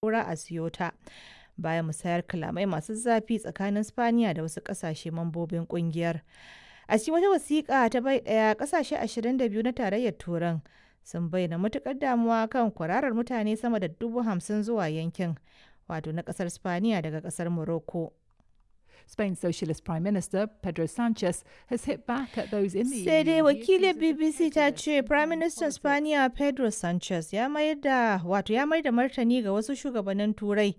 saura a Ceuta, bayan musayar kalamai masu zafi tsakanin Spaniya da wasu ƙasashe mambobin ƙungiyar. A cikin wata wasiƙa ta bai ɗaya, ƙasashe 22 na Tarayyar Turan sun bayyana matuƙar damuwa kan kwararar mutane sama da 50,000 zuwa yankin, wato na ƙasar Spaniya daga ƙasar Morocco. Spain's Socialist Prime Minister Pedro Sanchez has hit back at those in the Sai dai EU who wakilin accuse of BBC ta prejudice ce and Prime playing Minister politics. Spaniya Pedro Sanchez ya mayar da wato ya mayar da martani ga wasu shugabannin Turai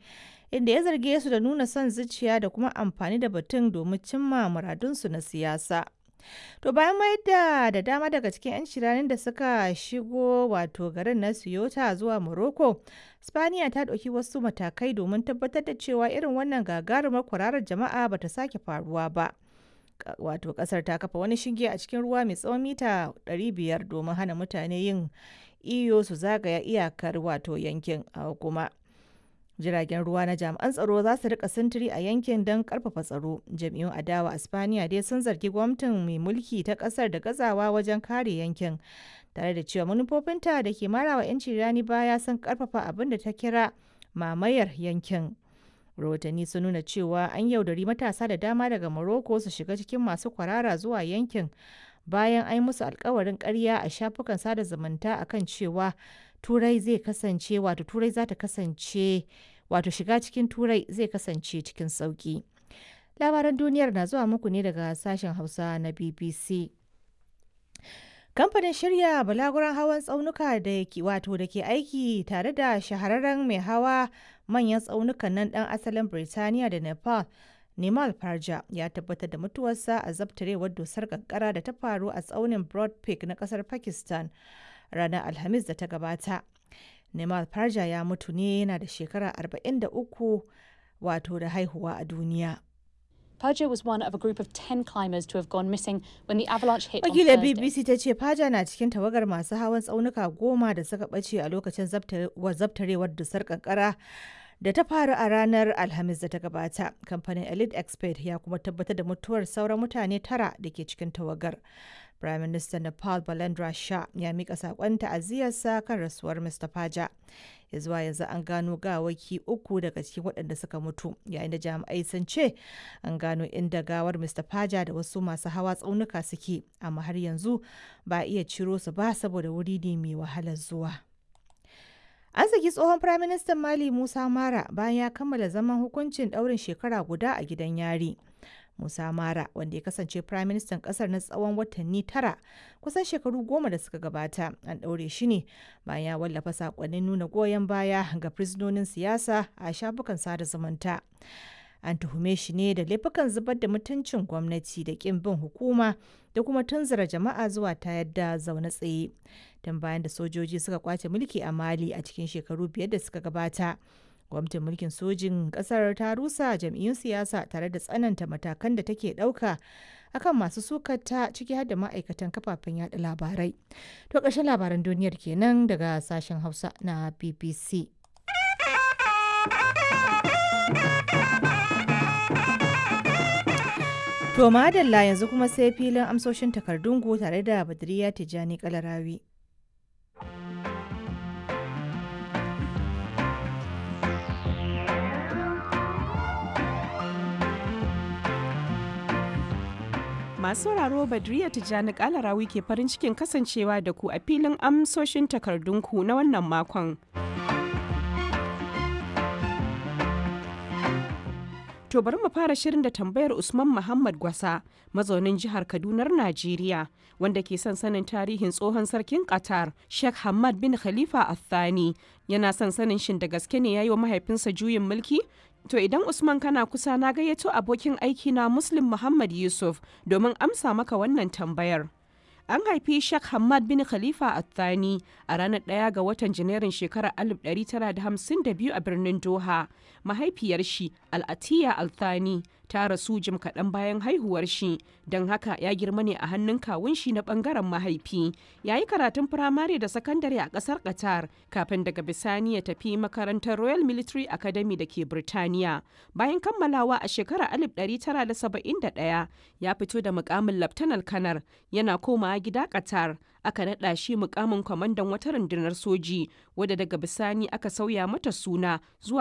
inda ya zarge su da nuna son zuciya da kuma amfani da batun domin cimma muradunsu na siyasa. To bayan mayar da dama daga cikin 'yan shiranin da suka shigo wato garin na Ceuta zuwa Morocco, Spaniya ta ɗauki wasu matakai domin tabbatar da cewa irin wannan gagarumar kwararar jama'a bata sake faruwa ba. Wato kasar ta kafa wani shinge a cikin ruwa mai tsawon mita 500 domin hana mutane yin iyo su zagaya iyakar wato yankin a kuma jiragen ruwa na jami'an tsaro za su rika sintiri a yankin don karfafa tsaro. Jam'iyyun adawa a Spaniya dai sun zargi gwamnatin mai mulki ta kasar da gazawa wajen kare yankin, tare da cewa manufofinta da ke marawa 'yanci rani baya sun karfafa abin da ta kira mamayar yankin. Rahotanni sun nuna cewa an yaudari matasa da dama daga Morocco su shiga cikin masu kwarara zuwa yankin bayan an yi musu alkawarin karya a shafukan sada zumunta akan cewa Turai zai kasance wato Turai za ta kasance wato shiga cikin Turai zai kasance cikin sauki. Labaran duniyar na zuwa muku ne daga sashen Hausa na BBC. Kamfanin shirya balaguran hawan tsaunuka da ke wato da ke aiki tare da shahararren mai hawa manyan tsaunukan nan dan asalin Birtaniya da Nepal, Nimal Parja, ya tabbatar da mutuwarsa a zabtarewar dusar kankara da ta faru a tsaunin Broad Peak na kasar Pakistan ranar Alhamis da ta gabata. Nimal Parja ya mutu ne yana da shekara 43 wato da haihuwa a duniya. Perja was one of a group of 10 climbers to have gone missing when the avalanche hit on Wakilar Thursday. BBC ta ce Faja na cikin tawagar masu hawan tsaunuka 10 da suka ɓace a lokacin zabtarewar dusar kankara da ta faru a ranar Alhamis da ta gabata. Kamfanin Elite Expert ya kuma tabbatar da mutuwar sauran mutane tara da ke cikin tawagar. Prime Minister Nepal Balendra Shah ya mika saƙon ta'aziyarsa kan rasuwar Mr. Faja. Ya zuwa yanzu an gano gawaki uku daga cikin waɗanda suka mutu, yayin da jami'ai sun ce an gano inda gawar Mr. Faja da wasu masu hawa tsaunuka suke, amma har yanzu ba a iya ciro su ba saboda wuri ne mai wahalar zuwa. An saki tsohon Firaministan Mali Musa Mara bayan ya kammala zaman hukuncin ɗaurin shekara guda a gidan yari. Musa Mara, wanda ya kasance Firaministan ƙasar na tsawon watanni 9 kusan shekaru 10 da suka gabata, an ɗaure shi ne bayan ya wallafa saƙonnin nuna goyon baya ga fursunonin siyasa a shafukan sada zumunta. An tuhume shi ne da laifukan zubar da mutuncin gwamnati da ƙin bin hukuma da kuma tunzura jama'a zuwa tayar da zaune tsaye. Tun bayan da sojoji suka kwace mulki a Mali a cikin shekaru 5 da suka gabata, gwamnatin mulkin sojin kasar ta rusa jam'iyyun siyasa tare da tsananta matakan da take ɗauka akan masu sukata, ciki har da ma'aikatan kafafen yada labarai. To ƙarshen labaran duniyar kenan daga sashen Hausa na BBC. To madalla, yanzu kuma sai filin amsoshin takardun ku tare da Badriya Tijjani Kalarawi. Masu sauraro, Badriya Tijjani Kalarawi ke farin cikin kasancewa da ku a filin amsoshin takardunku na wannan makon. To bari mu fara shirin da tambayar Usman Muhammad Gwasa, mazaunin jihar Kadunar Najeriya, wanda ke son sanin tarihin tsohon sarkin Qatar, Sheikh Hamad bin Khalifa Al-Thani. Yana son sanin shin da gaske ne ya yi wa mahaifinsa juyin mulki? To idan Usman kana kusa, na gayyato abokin aiki na Muslim Muhammad Yusuf domin amsa maka wannan tambayar. An haifi Sheikh Hamad bin Khalifa Al-Thani a ranar 1 ga watan Janairun shekarar 1952 a birnin Doha. Mahaifiyar shi, Al-Atiya Al-Thani, ta rasu jim kaɗan bayan haihuwar shi, don haka ya girma ne a hannun kawun shi na ɓangaren mahaifi. Ya yi karatun firamare da sakandare a ƙasar Qatar kafin daga bisani ya tafi makarantar Royal Military Academy da ke Birtaniya. Bayan kammalawa a shekarar 1971 ya fito da mukamin Laftanar Kanar, yana komawa gida Qatar, aka naɗa shi mukamin kwamandan wata rundunar soji, wadda daga bisani aka sauya mata suna zuwa